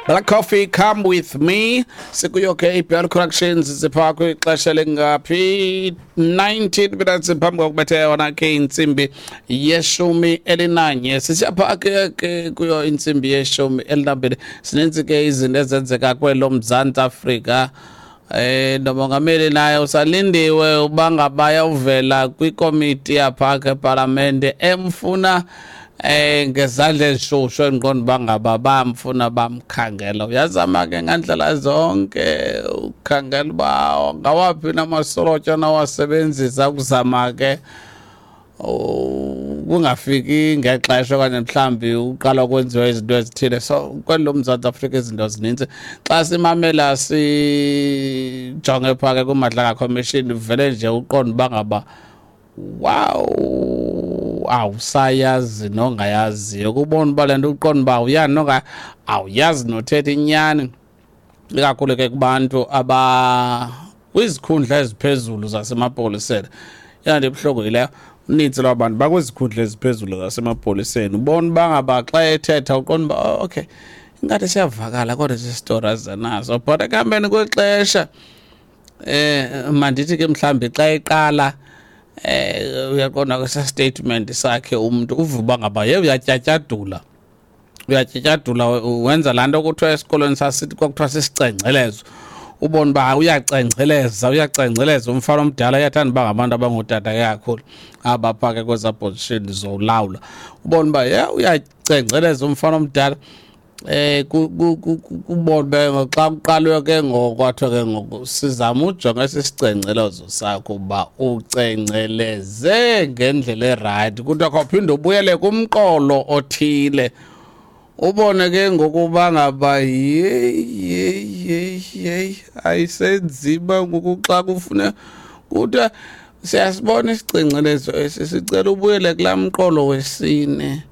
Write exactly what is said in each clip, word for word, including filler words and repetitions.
Black Coffee, "Come With Me". Sikuyo ke I B L Corrections, sipha kwixesha lingaphi? nineteen minutes phambi kokubetha yona ke intsimbi yeshumi elinanye. Sisiyapha ke ke kuyo intsimbi yeshumi elinambini. Sininzi ke izinto ezenzeka kwelo Mzantsi Afrika. Eh nomongameli naye usalindiwe uba ngaba uvela kwikomiti yapha ke epalamente emfuna eh ngezandla ezishushu, endiqonda uba ngaba bamfuna, bamkhangela. Uyazama ke ngandlela zonke ukhangela uba ngawaphi namasorotyo nawasebenzisa ukuzama ke kungafiki ngexesha okanye mhlawumbi uqala kwenziwa izinto ezithile. So kweli loMzantsi Afrika izinto zininzi. Xa simamela, sijonge phaa ke kuMadlanga Commission, vele nje uqonda uba ngaba wow, awusayazi nongayaziyo, kubona uba le nto uqonda uba awuyazi nonga awuyazi nothetha inyani, ikakhulu ke kubantu aba kwizikhundla eziphezulu zasemapoliseni. Yona ibuhlungu yileyo. Unintsi lwabantu bakwizikhundla eziphezulu zasemapoliseni, ubona uba ngaba xa ethetha uqonda uba, oh, okay, ingathi siyavakala, kodwa esi story azanaso. But ekuhambeni kwexesha, eh mandithi ke mhlawumbi xa eqala, eh uyaqonda kwesa statement sakhe, umuntu uva uba ngaba ye uyatyatyadula, uyatyatyadula, wenza laa nto kuthiwa esikolweni sasithi kwakuthiwa sisicengcelezo. Ubona uba uyacengceleza, uyacengceleza umfana omdala. Uyathanda uba ngabantu abangootata ke kakhulu abapha ke kwezaa position zolawula. Ubona uba ye uyacengceleza umfana omdala. eh kubona uba xa kuqalwe ke ngoku, kwathiwa ke ngoku sizama ujonga esi sicengcelezo sakho uba ucengceleze ngendlela erayithi, kuthiwa khawuphinde ubuyele kumqolo othile. Ubone ke ngokuba ngaba yeyi, yeyi, yeyi, yeyi, ayisenzima ngoku xa kufuna kuthiwa siyasibona isicengcelezo esi, sicela ubuyele kulaa mqolo wesine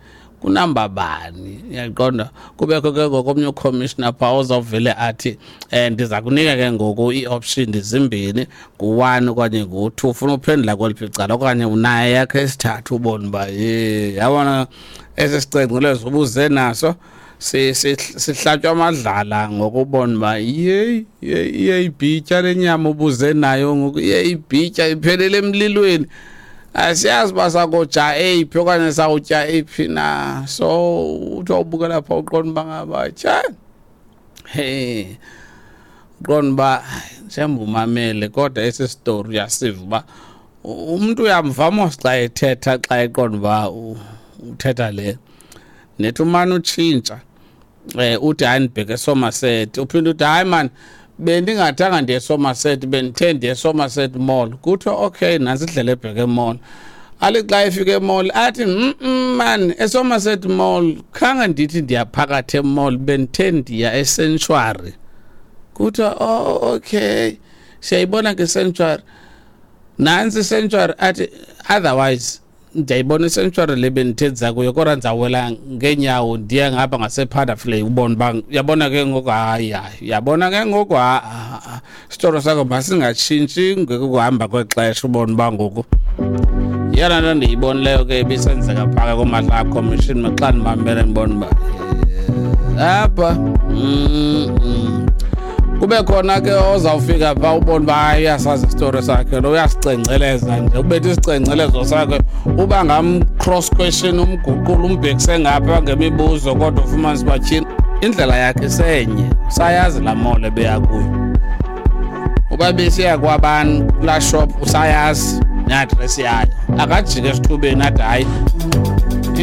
kunamba bani. Uyaqonda, kubekho ke ngoku omnye ucommissioner phaa ozawuvele athi um ndiza kunika ke ngoku ii-option zimbini, ngu-one okanye ngu-two, ufuna uphendula kweliphi icala, okanye unayo yakho esithathu. Ubone uba ye yabona esi sicengcelezo ubuze naso sihlatywa amadlala ngokubona uba yeyi, iyayibhitya le nyama ubuze nayo ngoku, iyayibhitya, iphelele emlilweni. Asiyazi uba sakoja eyiphi okanye sawutya eyiphi na. So uthi wawubukela phaa uqonda uba ngaba tsha he, uqonda uba njengoba umamele, kodwa esi story uyasiva uba umntu uyamva mos xa ethetha, xa eqonda uba uthetha le nethi umane utshintsha, eh uthi hayi, ndibheke eSomerset, uphinde uthi hayi man, bendingathanga ndiye eSomerset, bendithe ndiye eSomerset Mall. Kuthiwa okay, nantsi indlela ebheke emall. Ali xa efika emall athi, mm man, eSomerset Mall khange ndithi ndiya phakathi emall, bendithe ndiya eSanctuary. Kuthiwa oh, okay, siyayibona ke Sanctuary, nantsi iSanctuary. Athi otherwise ndiyayibona iSanctuary le bendithe ndiza kuyo, kodwa ndizawela ngeenyawo ndiye ngapha ngasePaddaflay. Ubona uba uyabona ke ngoku, hayi hayi, uyabona ke ngoku, isitoro sakho masingatshintshi ngekuhamba kwexesha. Ubona uba ngoku yeyona nto ndiyibonileyo ke ibisenzeka phaka kuMadlanga Commission. Xa ndimamele ndibona uba apha mm, kube khona ke ozawufika phaa, ubone uba hayi, uyasazi isitori sakhe lo, uyasicengceleza nje, ubethe isicengcelezo sakhe, uba ngam-cross question, umguqula, umbhekise ngapha ngemibuzo, kodwa ufumanise uba tyhini, indlela yakhe isenye, usayazi laa mall ebeya kuyo, uba besiya kwabani kulaa shop, usayazi neadresi yayo. Akajike esithubeni athi hayi,